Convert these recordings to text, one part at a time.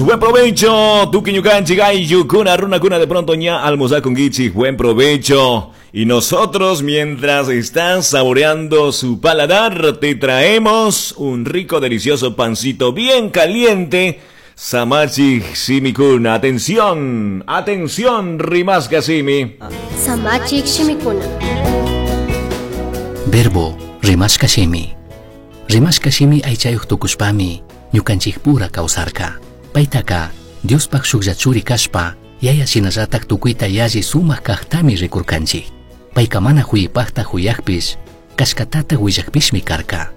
Buen provecho, tuki ñukanchik ayllukuna, runakuna de pronto ña almorzar buen provecho. Y nosotros, mientras estás saboreando su paladar, te traemos un rico, delicioso pancito bien caliente. Samachik Simikuna. Atención, atención, Rimasca Simi. Samachik Shimikuna. Verbo rimashka shimi. Rimashka shimi aychayuq tukushpami ñukanchikpura kawsarka. Paytaka Diospaq shuklla churi kashpa yaya shinallatak tukuyta yalli sumaq kaqtami rikurkanchik. Payka mana huyipaqta huyaqpish kashkatata willaqpishmi karka.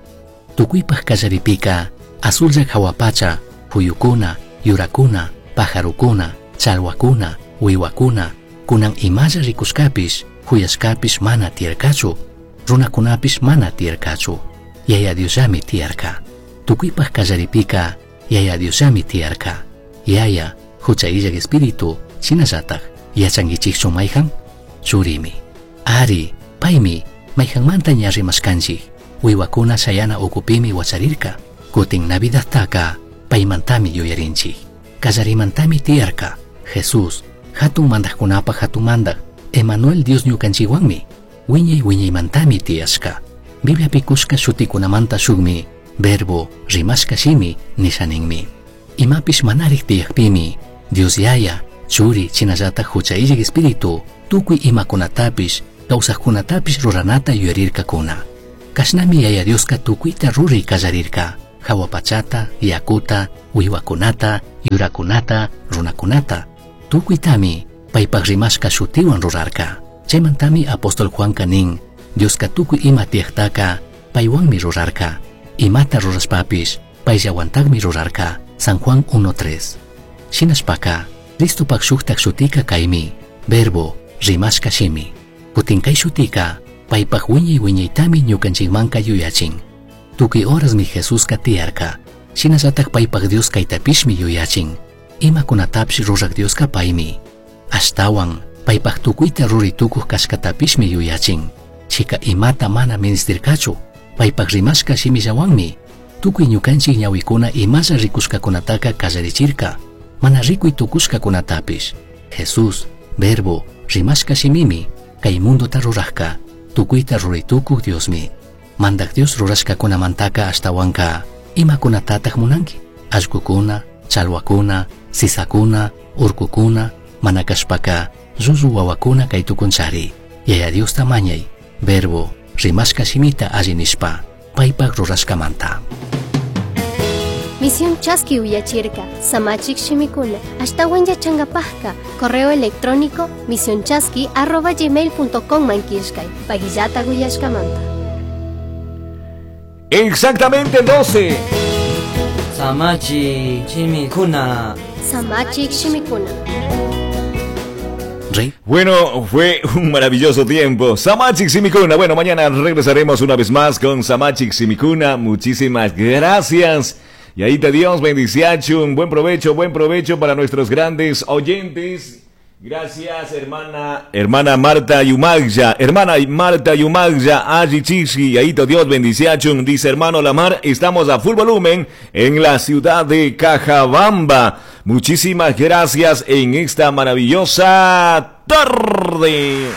Tukuypaq kallaripika azulla hawapacha huyukuna, yurakuna, pajarukuna, challwakuna, wiwakuna, kunan imalla rikushkapish huyashkapish mana tiyarkachu, runakunapish mana tiyarkachu. Yaya Diosllami tiyarka. Tukuypaq kallaripika Yaya Diosllami tiyarka. Yaya, hucha illak espíritu, shinallatak, yachankichikchu mayhan? Churimi. Ari, paymi, mayhanmanta ña rimashkanchik. Wiwakuna shayana ukupimi wacharirka. Kutin Navidadtaka paymantami yuyarinchik. Kallarimantami tiyarka. Jesús, hatun mandaqkunapaq hatun mandaq, Emanuel Dios ñukanchikwanmi, wiñay wiñaymantami tiyashka. Bibliapi kushka shutikunamanta shukmi, verbo rimashka shimi nisha ninmi. Imapish manarik tiyakpimi, Dios Yaya, Churi, shinallatak hucha illak espíritu, tukuy imakunatapish, kawsaqkunatapish ruranata yuyarirkakuna. Kashnami Yaya Dioska tukuyta ruray kallarirka, hawa pachata, yakuta, wiwakunata, yurakunata, runakunata. Tukuytami paypaq rimashka shutiwan rurarka. Chaymantami apóstol Juanka nin, Dioska tukuy ima tiyaqtaka paywanmi rurarka. Imata rurashpapish payllawantaqmi rurarka. San Juan 1.3. Shinashpaka, Cristopak shuktak shutika kaymi, verbo rimashka shimi. Kutin kay shutika, paypaq wiñay wiñaytami ñukanchikmanka yuyachin. Tukuy horasmi Jesuska tiyarka. Shinallatak paypaq Dios kaytapishmi yuyachin. Imakunatapish rurak Dioska paymi. Ashtawan, paypaq tukuyta ruray tukuq kashkatapishmi yuyachin. Chika imata mana ministirkachu, paypaq rimashka shimillawanmi. Tukuy ñukanchik ñawikuna imalla rikushkakunataka kallarichirka, mana rikuy tukushkakunatapish. Jesús, verbo, rimashka shimimi, kay mundota rurajka, tukuyta ruray tukuq Diosmi. Mandak Dios rurashkakunamantaka ashtawanka, imakunatataq munanki? Allqukuna, challwakuna, sisakuna, urkukuna, mana kashpaka, llullu wawakuna kay tukunchari. Yaya Diosta mañay, verbo, rimashka shimita alli nishpa, paypaq rurashkamanta. Misión Chaski uyachirka, Samachik Shimikuna, ashtawan yachankapajka, correo electrónico misionchaski@gmail.com mankishkay, pagillata uyashkamanta. Exactamente 12. Samachi Shimikuna. Samachik Shimikuna. Rey. Bueno, fue un maravilloso tiempo. Samachik Simikuna. Bueno, mañana regresaremos una vez más con Samachik Simikuna. Muchísimas gracias. Y ahí te Dios bendiciachun. Buen provecho para nuestros grandes oyentes. Gracias, hermana, hermana Marta Yumagya, hermana Marta Yumagya, Aji Chichi, ahí te Dios bendiciachun, dice hermano Lamar, estamos a full volumen en la ciudad de Cajabamba. Muchísimas gracias en esta maravillosa tarde.